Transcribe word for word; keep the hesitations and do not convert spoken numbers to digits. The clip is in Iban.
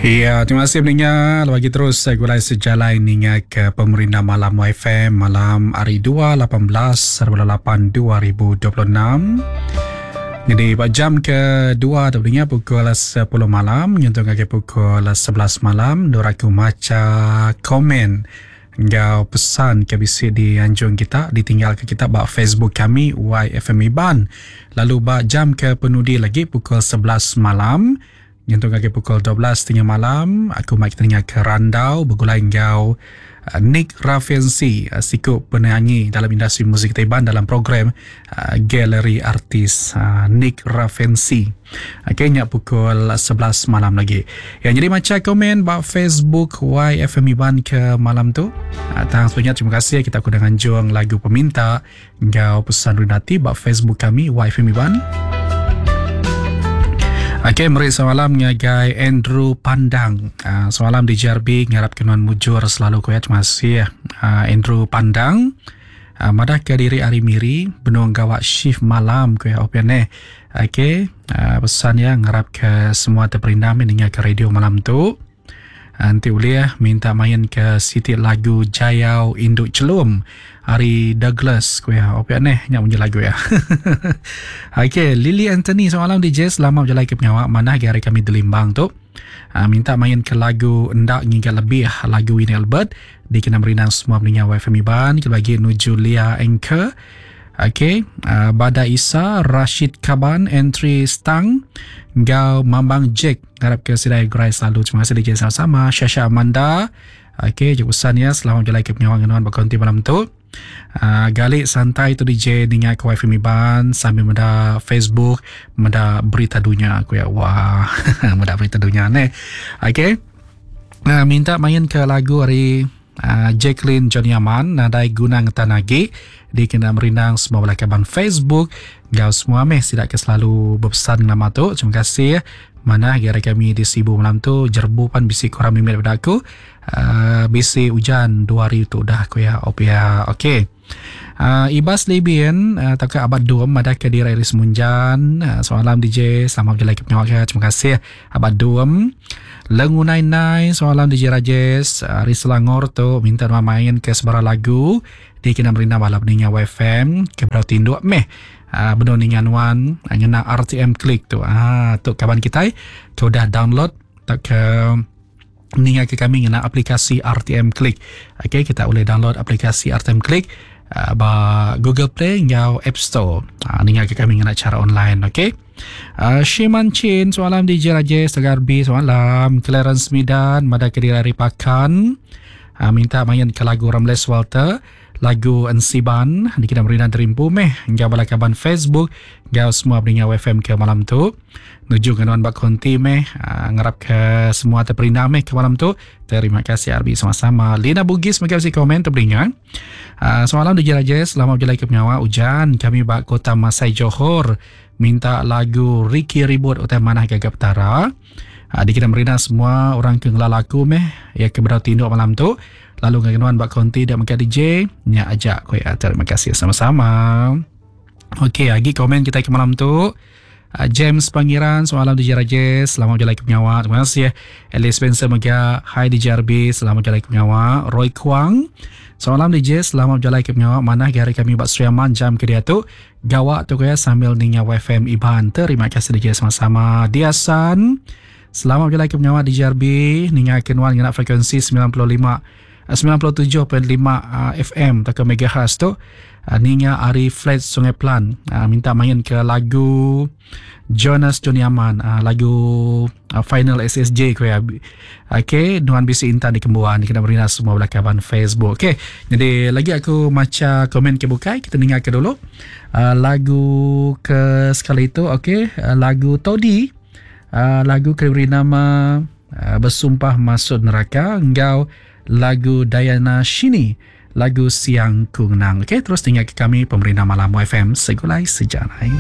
Ya, terima kasih pendengar. Lagi terus saya gulai sejalai ninga ke pemerintah malam Y F M malam hari dua lapan belas lapan dua ribu dua puluh enam. Jadi pada jam kedua pendengar pukul sepuluh malam nyentuh ke pukul sebelas malam duraku maca komen ngau pesan ke bisi di anjung kita ditinggal ke kita ba Facebook kami Y F M Iban. Lalu ba jam ke penudi lagi pukul sebelas malam nyentuh ke pukul dua belas tiga puluh malam aku mai kita dengar ke randau begulai ngau Nick Rafensi siku penyanyi dalam industri muzik Iban dalam program uh, Galeri Artis uh, Nick Rafensi. Okey, nya pukul sebelas malam lagi. Yang jadi macam komen ba Facebook Y F M Iban ke malam tu. Uh, tang sebenarnya terima kasih kita aku dengan juang lagu peminta ngau pesan runati ba Facebook kami Y F M Iban. Okey, meri semalam ngagai Andrew Pandang. Uh, semalam di J R B ngarap kenuan mujur selalu koya. Terima kasih uh, Andrew Pandang. Uh, madah ke diri hari miri benung gawak shift malam koya open eh. Okey, uh, pesan ya ngarap ke semua terperindam dengar ke radio malam tu. Nanti boleh minta main ke siti lagu Jayau Induk Celum Ari Douglas kuya open eh nyak punya lagu ya. Okey, Lily Anthony semalam D J selamat berjalan ke pengawak mana hari kami delimbang tu. Uh, minta main ke lagu Endak Ngiga Lebih lagu Winnie Albert dikena merindang semua pendengar Y F M Iban. Kita bagi nuju Lia Anchor. Okey, uh, Bada Isa, Rashid Kaban, Entry Stang, Gau Mambang Jack. Harap ke sidai gerai selalu. Terima kasih D J sama-sama. Syasha Amanda. Okey, jumpa pesan ya. Selamat berjalan ke pengawang genuan berkonti malam tu. Uh, galik santai tu D J dengar ke Y F M Iban sambil meda Facebook, meda berita dunia aku ya. Wah, meda berita dunia ni. Okey. Uh, minta main ke lagu hari Uh, Jacqueline Johnny Aman nadai guna ngetan lagi dikena merindang semua belakaban Facebook gau semua meh sidak ke selalu berpesan nama tu. Terima kasih mana gara kami di Sibu malam tu jerbu pan bisi kurang mimit pada aku. Uh, bisi hujan dua hari tu dah aku ya opia. Okey. Uh, Ibas Libyan uh, tak ke abad dua madah ke diri Iris Munjan. Uh, semalam D J selamat berjalan ke pengawak. Terima kasih abad dua. Lengu nine nine semalam D J Rajesh Ari Selangor tu minta nama main ke sebarang lagu di kena merindang balap ninga Y F M ke berau tinduk meh. Uh, benar ningan wan ngena R T M Click tu. Ah tu kawan kita tu dah download tak ke ninga ke kami ngena aplikasi R T M Click. Okey, kita boleh download aplikasi R T M Click uh, ba Google Play ngau App Store. Uh, ninga ke kami ngena cara online, okey. Uh, Shiman Chin semalam D J Rajesh Tegarbi semalam Clarence Midan Mada Kediri Pakan uh, minta main ke lagu Ramles Walter lagu Ensiban di kita merindang terimpu meh hingga balakaban Facebook gau semua pendengar Y F M ke malam tu nuju ke nuan bak konti meh uh, ngarap ke semua terperindang meh ke malam tu. Terima kasih Arbi sama-sama. Lina Bugis mega bisi komen terperingan uh, semalam di Rajesh selamat berjalan ke pengawal hujan kami bak kota Masai Johor minta lagu Ricky Ribut utai manah gagap petara. Uh, di kita merindang semua orang ke ngelalaku meh ya ke berau tinduk malam tu. Lalu ngenuan bak konti dan maka D J nya ajak koi. Terima kasih sama-sama. Okey, lagi komen kita ke malam tu. Uh, James Pangeran semalam D J Rajesh selamat berjalan ke pengawak. Terima kasih. Alice Spencer mega hi D J R B selamat berjalan ke pengawak. Roy Kuang semalam D J selamat berjalan ke pengawak. Mana hari kami bak Sriaman jam ke dia tu gawak tu kaya sambil ninga Y F M Iban. Terima kasih D J sama-sama. Diasan selamat berjalan ke pengawak D J R B ninga kenuan ngena frekuensi sembilan puluh lima sembilan puluh tujuh perpuluhan lima F M atau megahertz tu. Ninga Ari Flat Sungai Plan minta main ke lagu Jonas Johnny Aman lagu Final S S J ko ya. Okey, nuan bisi intan di Kembuan kena berina semua belakaban Facebook. Okey, jadi lagi aku maca komen ke bukai kita dengar ke dulu lagu ke sekali itu. Okey, lagu Todi lagu ke beri nama Bersumpah Masuk Neraka engkau lagu Diana Shini lagu Siang Ku Ngenang. Okey, terus tinggal ke kami pemerintah Malam Y F M Segulai Sejalai.